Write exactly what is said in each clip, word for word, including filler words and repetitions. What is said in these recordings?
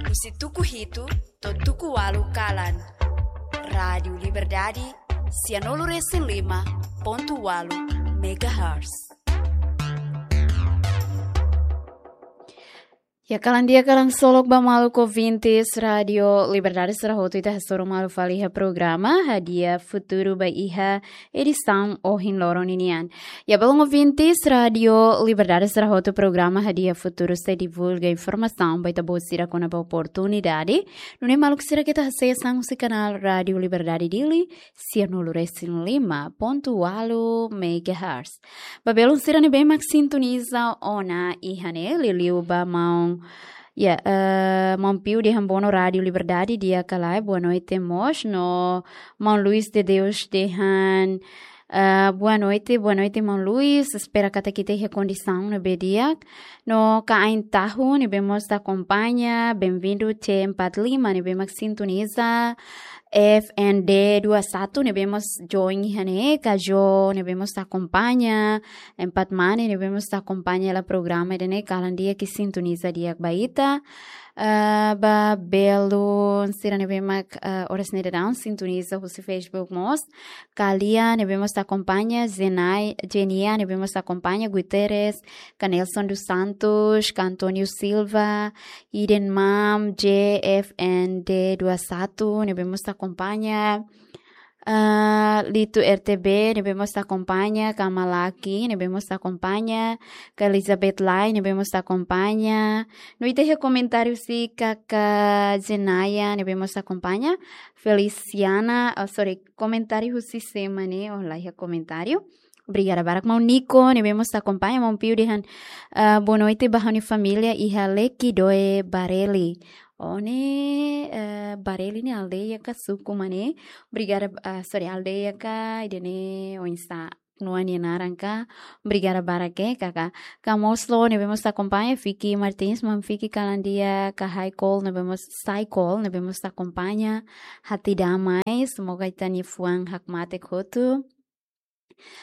Husi tuku hitu to'o tuku ualu kalan. Rádiu Liberdade, sianulu resin lima pontu ualu megahertz. Ya, kalan di'ak, kalan solok ba maluk ouvintes Rádiu Liberdade sira hotu, ita hasoru malu fali iha programa Hadi'a Futuru ba iha edisaun ohin loron ninian. Ya, maluk ouvintes Rádiu Liberdade sira hotu, programa Hadi'a Futuru sei divulga informasaun ba ita-boot sira kona-ba oportunidade. Nune'e maluk sira keta asesu husi kanál Rádiu Liberdade Dili, sianulu resin lima pontu ualu megahertz. Ba belun sira ne'ebé mak sintoniza ona iha ne'e, liuliu ba maun, ya, eh, maun Piu dehan bono Rádiu Liberdade di'ak ka lae, boa noite mós, no maun Luis de Deus dehan, eh, boa noite, boa noite maun Luis, espera katak ita iha kondisaun ne'ebé di'ak. No Kaain Tahu ne'ebé mós ita akompaña, bem-vindo, C empat lima ne'ebé mak sintoniza, F N D dua satu ne'ebé mós join iha ne'e, Kajo ne'ebé mós ita akompaña, Empat Mane ne'ebé mós ita akompaña hela programa ida-ne'e, kalan di'ak, sintoniza di'ak ba ita. Ah, ba belun sira ne'ebé mak, ah, oras ne'e daudaun sintoniza husi Facebook mós. Kalia ne'ebé mós ita akompaña, Zenai, Jenia ne'ebé mós ita akompaña, Guterres, Ka Nelson dos Santos, Ka António Silva, Iden Mam, J F N D dua satu ne'ebé mós ita akompaña. Ah, Lito R T B ne'ebé mós ita akompaña, Ka Malaki ne'ebé mós ita akompaña, Ka Elizabeth Lai ne'ebé mós ita akompaña. No ita iha komentáriu husi Kaka Zenaya ne'ebé mós ita akompaña, Feliciana, oh, sorry, komentáriu husi sé mak ne'e, oh, la iha komentáriu. Obrigada barak. Maun Nico ne'ebé mós ita akompaña, maun Piu dehan, ah, boa noite ba ha'u-nia família iha Lekidoe, Bareli. Oh, ne'e, eh, Bareli ne'e aldeia ka suku mak ne'e? Obrigada, ah, sorry, aldeia ka, ida-ne'e oinsá, nua nia naran ka? Obrigada barak, eh, Kaka. Ka Moslo ne'ebé mós ita akompaña, Fiki Martins, maun Fiki kalan di'ak, Ka Haikol ne'ebé mós, Saikol ne'ebé mós ita akompaña, Hati Damai, semoga ita-nia fuan hakmatek hotu.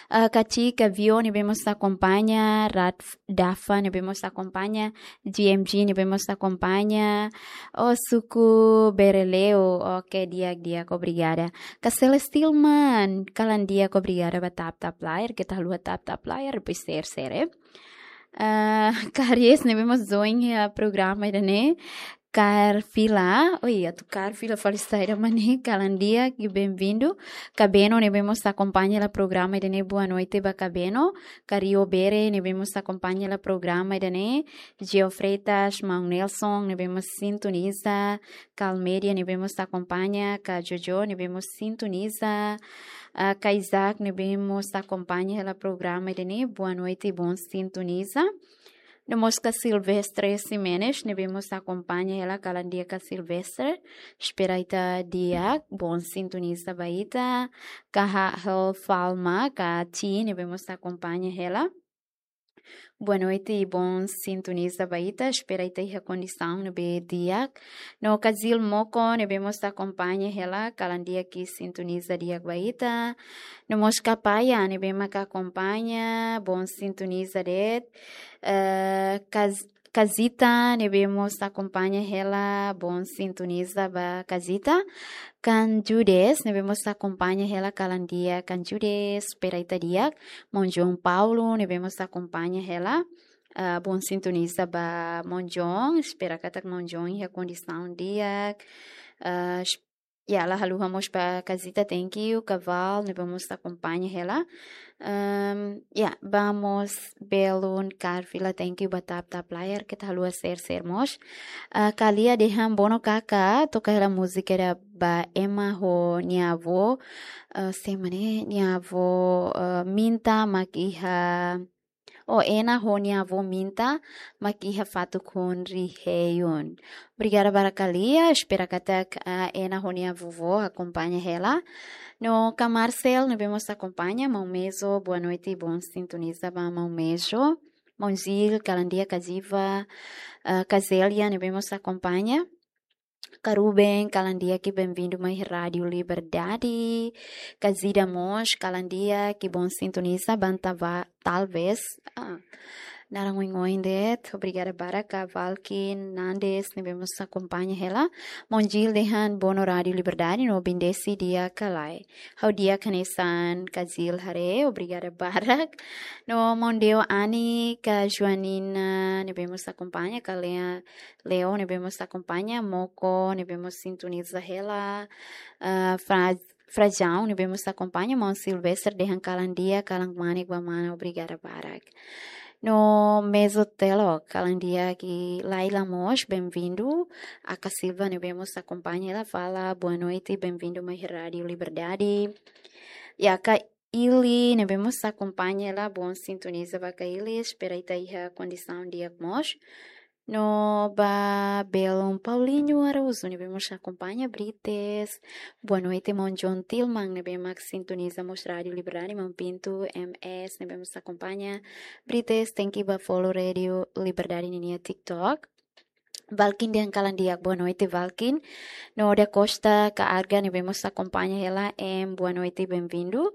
Ah, Ka Ci, Ka Vio ne'ebé mós ita akompaña, Rat Dafa ne'ebé mós ita akompaña, G M G ne'ebé mós ita akompaña, oh, suku Bereleu, oke, di'ak, di'ak, obrigada. Ka Celestilman, kalan di'ak, obrigada ba tap-tap layar, keta haluha tap-tap layar, depois share, share, eh. Ah, Ka Aries ne'ebé mós join iha programa ida-ne'e, Carfila, oi, atu Carfila fali saida mak ne'e, kalan di'ak, bem-vindo. Ka Beno ne'ebé mós ita akompaña hela programa ida-ne'e, boa noite ba Ka Beno. Ka Rio Bere ne'ebé mós ita akompaña hela programa ida-ne'e, Geo Freitas, maun Nelson ne'ebé mós sintoniza, Ka Almeida ne'ebé mós ita akompaña, Ka Jojo ne'ebé mós sintoniza, ah, Ka Isaac ne'ebé mós ita akompaña hela programa ida-ne'e, boa noite, bom sintoniza. No mós Ka Silvestre Ximenes ne'ebé mós ita akompaña hela, kalan di'ak Ka Silvestre. Espera ita di'ak, bom sintoniza ba ita. Ka Hahel Falma, Ka Ci ne'ebé mós ita akompaña hela, boa noite, bom sintoniza ba ita. Espera ita iha kondisaun ne'ebé di'ak. No Ka Zil Moko ne'ebé mós ita akompaña hela, kalan di'ak, sintoniza di'ak ba ita. No mós Ka Paya ne'ebé mak akompaña, bom sintoniza de'it. Eh, Ka Z-, Ka Zita ne'ebé mós ita akompaña hela, bom sintoniza ba Ka Zita. Ka Judes ne'ebé mós ita akompaña hela, kalan di'ak Ka Judes, espera ita di'ak. Maun João Paulo ne'ebé mós ita akompaña hela, ah, bom sintoniza ba maun João, espera katak maun João iha kondisaun di'ak. Ah, es-, ya, la haluha mós ba Ka Zita, thank you. Ka Val ne'ebé mós ita akompaña hela. Ehm, ya, ba mós belun Carfila, thank you ba tap-tap layar, keta haluha share, share mós. Ah, Ka Lia dehan bono Kaka, toka hela múzika ida ba Ema ho nia avó, eh, sé mak ne'e, nia avó, eh, Minta mak iha, oh, Ena ho nia avó Minta mak iha fatuk hun Riheiun. Obrigada barak Ka Lia, espera katak, ah, Ena ho nia vovó akompaña hela. No Ka Marcel ne'ebé mós akompaña, maun Mejo, boa noite, bom sintoniza ba maun Mejo. Maun Zil, kalan di'ak Ka Ziva, ah, Ka Zélia ne'ebé mós akompaña. Ka Ruben, kalan di'ak, bem-vindo mai Rádiu Liberdade. Ka Zida mós, kalan di'ak, bom sintoniza, banta ba, talvez. Ah. Naran oin-oin de'it, obrigada barak ba Valkin Nandes, ne'ebé mós akompaña hela. Maun Jil dehan Bono Rádiu Liberdade, no bendisi di'ak ka lae. Ha'u di'ak hanesan ka Jil haree, obrigada barak. No maun Deo Ani ka Joanina, ne'ebé mós akompaña, ka Lea, Leo, ne'ebé mós akompaña, Moko, ne'ebé mós sintoniza hela, ah, Fra-, Frajão, ne'ebé mós akompaña, maun Silvester dehan kalan di'ak, kalan manik ba mana, obrigada barak. No Mezo Telo, kalan di'ak, i Laila mós, bem-vindo. Aka Silva, ne'ebé mós akompaña hela, fala, boa noite, bem-vindo mai Rádiu Liberdade. I Aka Ili, ne'ebé mós akompaña hela, bom sintoniza ba Aka Ili, espera ita iha kondisaun di'ak mós. No ba belun Paulinho Araújo, ne'ebé mós akompaña, Brites. Boa noite, maun John Tilman, ne'ebé mak sintoniza mós Rádiu Liberdade, maun Pinto M S, ne'ebé mós akompaña, Brites, thank you ba follow Rádiu Liberdade ninia TikTok. Valkin dehan kalan di'ak, boa noite, Valkin. No Da Costa ka Arga, ne'ebé mós akompaña hela, em, boa noite, bem-vindo.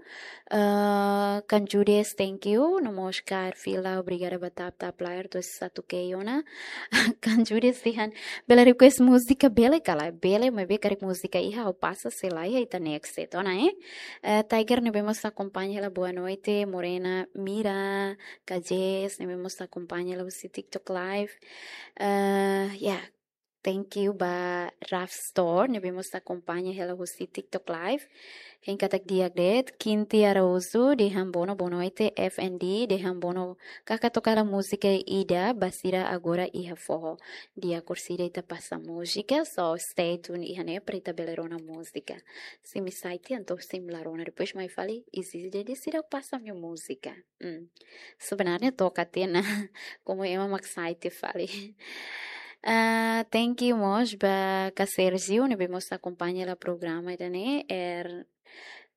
Ah, Kanjudes, thank you. No mós Kar Fila, obrigada ba tap tap layar, tos satu ke ona. Kanjudes dehan, bele request múzika bele ka lae, bele, maibé karik múzika iha, ha'u pasa, se la iha, ita next, entaun, eh? Eh, Tiger, ne'ebé mós akompaña hela, boa noite, Morena, Mira, Kajes, ne'ebé mós akompaña hela husi TikTok Live. Eh, ya, thank you ba Raf Store, ne'ebé mós akompaña hela husi TikTok Live. Hein katak di'ak de'it, Kinti Araújo, dehan bono, boa noite, F N D, dehan bono, kaka toka hela múzika ida, ba sira agora iha foho. Di'ak orsida ita pasa múzika, so stay tuned iha ne'e para ita bele rona múzika. Se imi sai tiha, entaun se imi la rona, depois mai fali, izije de'it seidauk pasa ha'u-nia múzika. Hmm. Sebenarnya toka tiha ona, komu ema mak sai tiha fali. Ah, thank you mós ba Ka Sergio, ne'ebé mós akompaña hela programa ida-ne'e, er,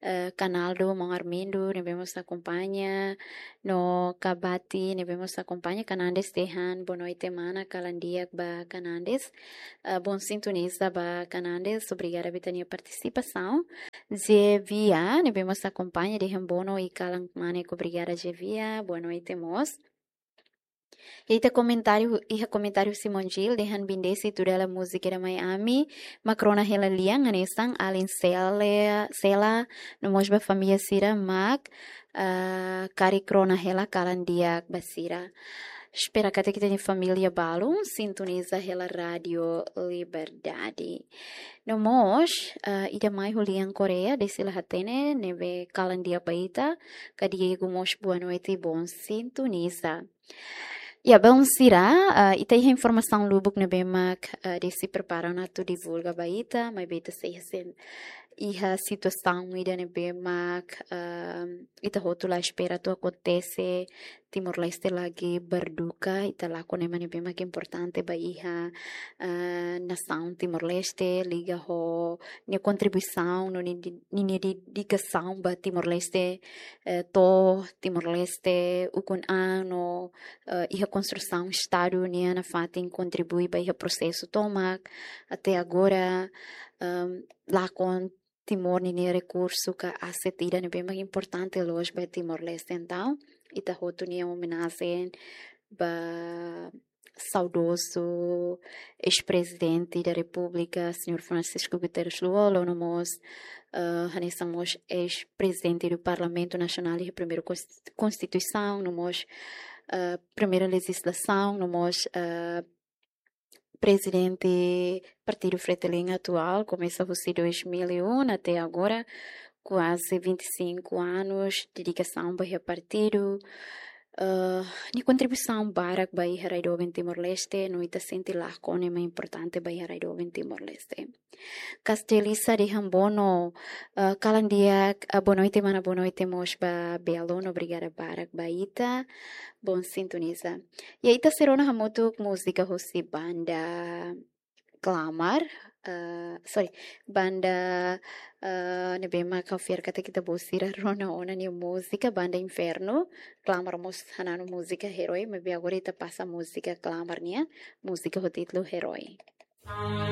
eh, Kanaldo, maun Armindo, ne'ebé mós akompaña, no Kabati, ne'ebé mós akompaña, Kanandes dehan, boa noite, mana, kalan di'ak ba Kanandes. Eh, bom sintoniza ba Kanandes, obrigada ba ita-nia partisipasaun. Zevia, ne'ebé mós akompaña, dehan bono i kalan manik, obrigada, Zevia, boa noite mós. Iha komentáriu, iha komentáriu husi maun Jil, dehan bendisi tuda hela múzika ida mai ami, mak rona hela lian, hanesan alin Sela, Sela, no mós ba família sira, mak, ah, karik rona hela kalan di'ak ba sira. Espera katak ita-nia família balun sintoniza hela Rádiu Liberdade. No mós, ah, ida mai ho lian Koreia, dehan sira hatene, ne'ebé kalan di'ak ba ita, ka Diego mós boa noite, bom sintoniza. Ya, bom sira, ah, ita iha informasaun lubuk ne'ebé mak, ah, dehan sira prepara ona atu divulga ba ita, maibé ita sei iha sen-, iha situasaun ida ne'ebé mak, ah, ita hotu la espera atu akontese, Timor-Leste lagi berduka, ita lakon ema ne'ebé mak importante ba iha, ah, nasaun Timor-Leste, liga ho nia kontribuisaun, no nia di-, nia dedikasaun ba Timor-Leste, eh, to'o Timor-Leste ukun-an no, eh, iha konstrusaun Estadu nian nafatin kontribui ba iha prosesu tomak. Até agora, ehm, lakon Timor ninia rekursu ka aset ida ne'ebé mak importante loos ba Timor-Leste. Entaun, ita hotu nia omenajen ba saudozu eis-prezidente da Repúblika, señór Francisco Guterres Lú-Olo, no mós, eh, hanesan mós eis-prezidente do Parlamentu Nasionál iha primeira kons-, konstituisaun, no mós, eh, primeira lejizlasaun, no mós, eh, prezidente Partidu Fretilin atuál, komesa husi dois mil e um até agora, kuaze vinte e cinco anos dedikasaun ba iha partidu. Eh, nia kontribuisaun barak ba iha rai doben Timor-Leste, no ita sente lakon ema importante ba iha rai doben Timor-Leste. Kastelisa dehan bono, eh, kalan di'ak, eh, boa noite, mana, boa noite mós ba Belo, no obrigada barak ba ita. Bom sintoniza. Ya, ita sei rona hamutuk múzika husi banda Klamar, eh, sorry, banda, eh, ne'ebé mak ha'u fiar katak ita-boot sira rona ona nia múzika, banda Inferno. Klamar mós hananu múzika Herói, maibé agora ita pasa múzika Klamar nian, múzika ho títulu Herói.